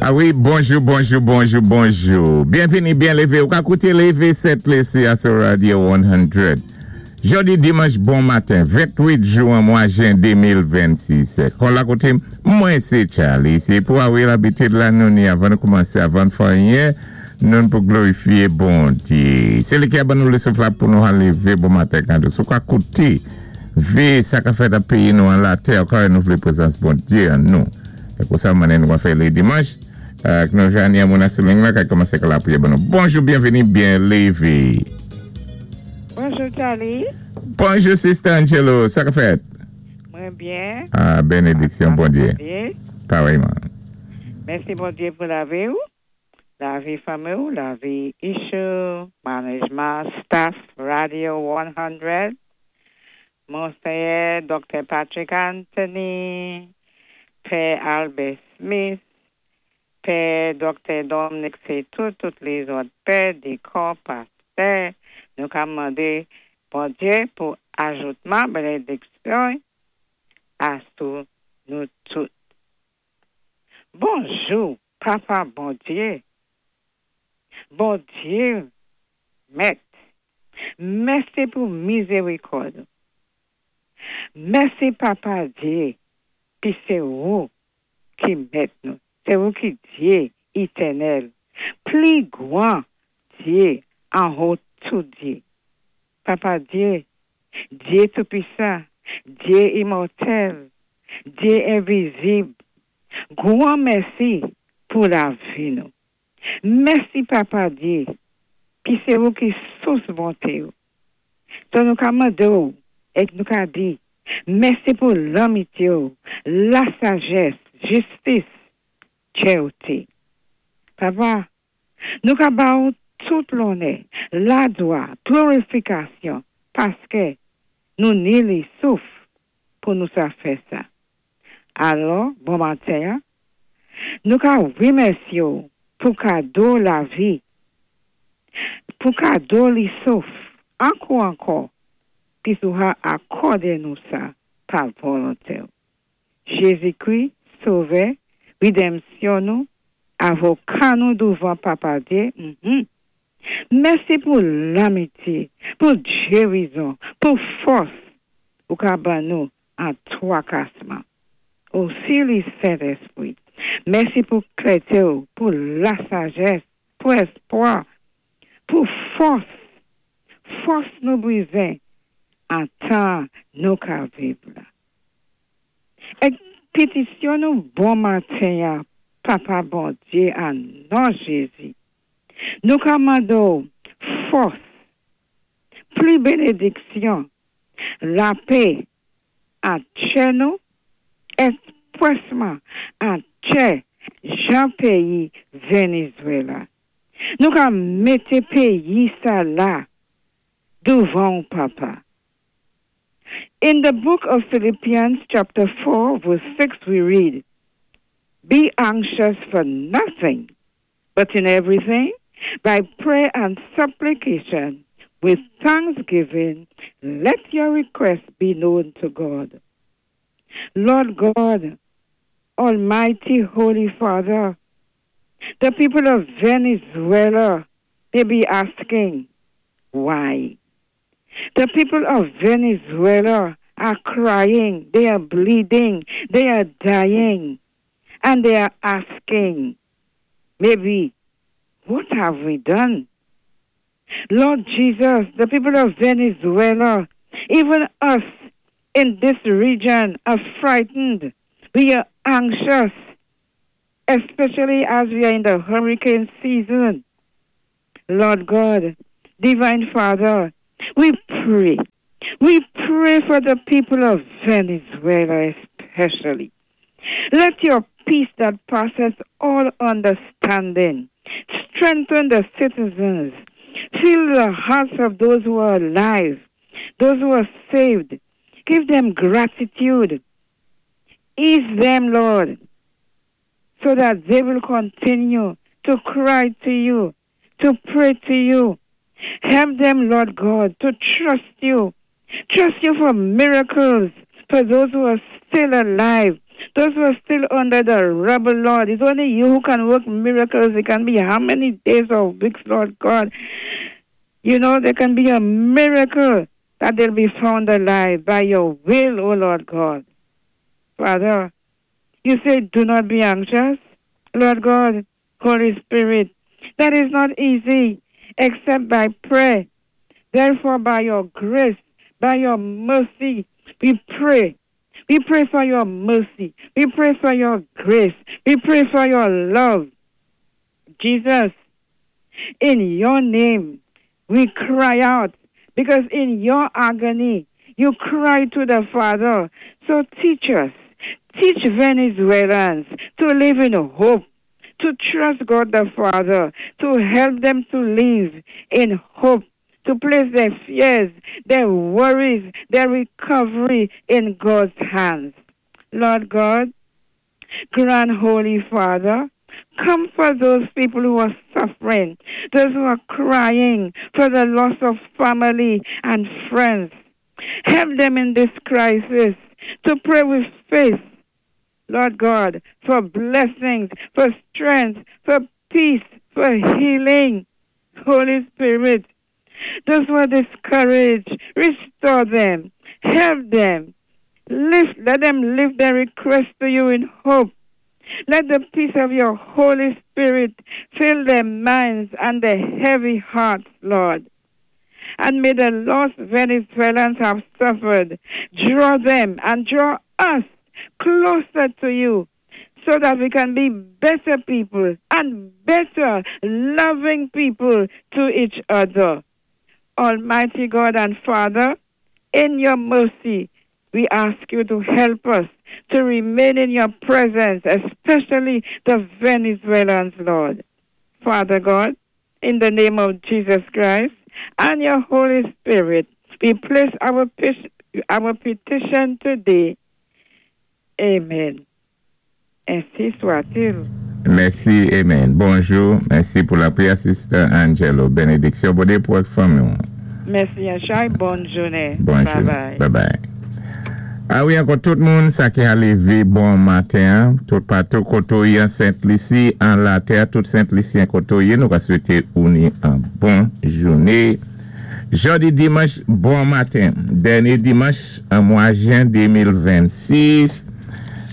A wi, bonjou, bonjou, bonjou, bonjou. Byenvini, byen lévé. Ou ka kouté Lévé 7 Lési a sou Radio 100. Jòdi dimanch bon maten, 28 jwen mwa jen 2026. Kon la koté, mwen sé Charlie. Sé pou awi labitid la nou ni avan nou koumansé, avan fè anyen, nou pou glorifié Bondyé. Sé li ki a ban nou lé souf la pou nou a lévé bon maten kando. Sou ka kouté, vé sa ka fèt an péyi nou an latè, ankò nou vlé prézans Bondyé an nou. É pou sa manen nou va fè lé dimanch. Ak nou jani a moun asouling la kay koumansé ka lapriyè ban nou. Bonjou, byenvini, byen lévé. Bonjou, Charlie. Bonjou, Sister Angelo. Sa ka fèt? Mwen byen. A, benediksyon, Bondyé. Parèyman. Mèsi, Bondyé, pou lavi ou, lavi fanmi ou, lavi Issue, management, staff, Radio 100, Monseyè Dr. Patrick Anthony, Pè Albert Smith, Pè Dr. Dominic Setou, tout lézòt pè, dikon, pastè, nou ka mandé Bondyé pou ajoutman, benediksyon a sou nou tout. Bonjou, Papa Bondyé. Bondyé, Mèt. Mèsi pou mizérikòd. Mèsi, Papa Dyé, pi sé ou ki mèt nou. Sé ou ki Dyé étènèl. Pli gwan Dyé anwo tout Dyé. Papa Dyé, Dyé Toupisan, Dyé imòtèl, Dyé envizib. Gwan mèsi pou lavi nou. Mèsi, Papa Dyé, pi sé ou ki sous bonté ou. So nou ka mandé ou, é nou ka di, mèsi pou lanmityé ou, la sajès, jistis, chèwté. Papa, nou ka ba ou tout lonnè, laglwa, glorifikasyon, paské nou ni li souf pou nou sa fè sa. Alò, bon maten, nou ka wimèsyé ou pou kado lavi, pou kado li souf, ankò ankò, pi sou ha akòdé nou sa pa volonté. Jézi-Kri, Sovè, rédanmsyon nou, avoka nou douvan Papa Dyé. Mèsi pou lanmityé, pou gérizon, pou fòs, ou ka ban nou an twakasman. Osi li Sentespwi. Mèsi pou klèté ou, pou la sajès, pou espwa, pou fòs, fòs nou bizwen an tan nou ka viv la. É pitisyon nou bon maten, Papa Bondyé, an non Jézi. Nou ka mandé ou fòs, pli benediksyon, lapè an tè nou, èspwèsman an tè jan péyi Vénézwéla. Nou ka mété péyi sa la douvan Papa. In the book of Philippians chapter 4 verse 6 we read, "Be anxious for nothing, but in everything, by prayer and supplication, with thanksgiving, let your requests be known to God." Lord God, Almighty Holy Father, the people of Venezuela may be asking, why? The people of Venezuela are crying, they are bleeding, they are dying, and they are asking, maybe, what have we done? Lord Jesus, the people of Venezuela, even us in this region are frightened. We are anxious, especially as we are in the hurricane season. Lord God, Divine Father, we pray. We pray for the people of Venezuela especially. Let your peace that passes all understanding strengthen the citizens, fill the hearts of those who are alive, those who are saved. Give them gratitude. Ease them, Lord, so that they will continue to cry to you, to pray to you. Help them, Lord God, to trust you. Trust you for miracles for those who are still alive. Those who are still under the rubble, Lord. It's only you who can work miracles. It can be how many days or weeks, Lord God. There can be a miracle that they'll be found alive by your will, O Lord God. Father, you say, do not be anxious. Lord God, Holy Spirit, that is not easy except by prayer. Therefore, by your grace, by your mercy, we pray. We pray for your mercy. We pray for your grace. We pray for your love. Jesus, in your name, we cry out because in your agony, you cry to the Father. So teach us, teach Venezuelans to live in hope, to trust God the Father, to help them to live in hope, to place their fears, their worries, their recovery in God's hands. Lord God, Grand Holy Father, comfort those people who are suffering, those who are crying for the loss of family and friends. Help them in this crisis to pray with faith, Lord God, for blessings, for strength, for peace, for healing. Holy Spirit, those who are discouraged, restore them, help them. Let them lift their request to you in hope. Let the peace of your Holy Spirit fill their minds and their heavy hearts, Lord. And may the lost Venezuelans have suffered draw them and draw us closer to you so that we can be better people and better loving people to each other. Almighty God and Father, in your mercy, we ask you to help us to remain in your presence, especially the Venezuelans, Lord. Father God, in the name of Jesus Christ and your Holy Spirit, we place our petition today. Amen. Ainsi soit-il. Mèsi, amen. Bonjou, mèsi pou lapriyè, Sister Angelo. Bénédiksyon pou ou fanmi. Mèsi, Yachai. Bòn jounen. Bonjou. Bye bye. Bye bye. A wi, ankò tout moun, sa ki a lévé bon maten, tout patou koté ou yé an Sent Lisi, an latè, tout Sent Lisyen koté ou yé, nou ka swété ou ni an bon jounen. Jòdi dimanch, bon maten. Dènyé dimanch, an mwa jen 2026.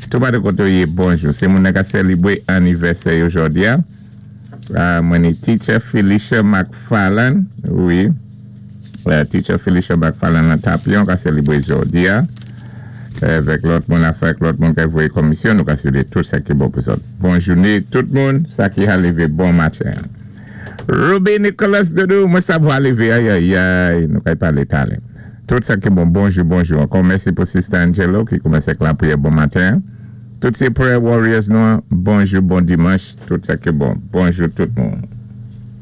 Tout patou koté ou yé, bonjou. Sé moun ka sélébwé anivèsè yo jòdi a. Mwen ni Teacher Felicia McFarland, wi. Teacher Felicia McFarland nan Tapion ka sélébwé jòdi a. Avèk lòt moun avèk lòt moun ki voyé komisyon, nou ka swété tout sa ki bon pou zòt. Bon jounen tout moun, sa ki a lévé bon maten. Ruby Nicholas Doudou, mwen savwa lévé, ay ay ay, nou ka palé talè. Tout sa ki bon, bonjou, bonjou. Ankò mèsi pou Sister Angelo ki koumansé ak lapriyè bon maten. Tout sé prayer warriors nou, bonjou, bon dimanch, tout sa ki bon. Bonjou tout moun.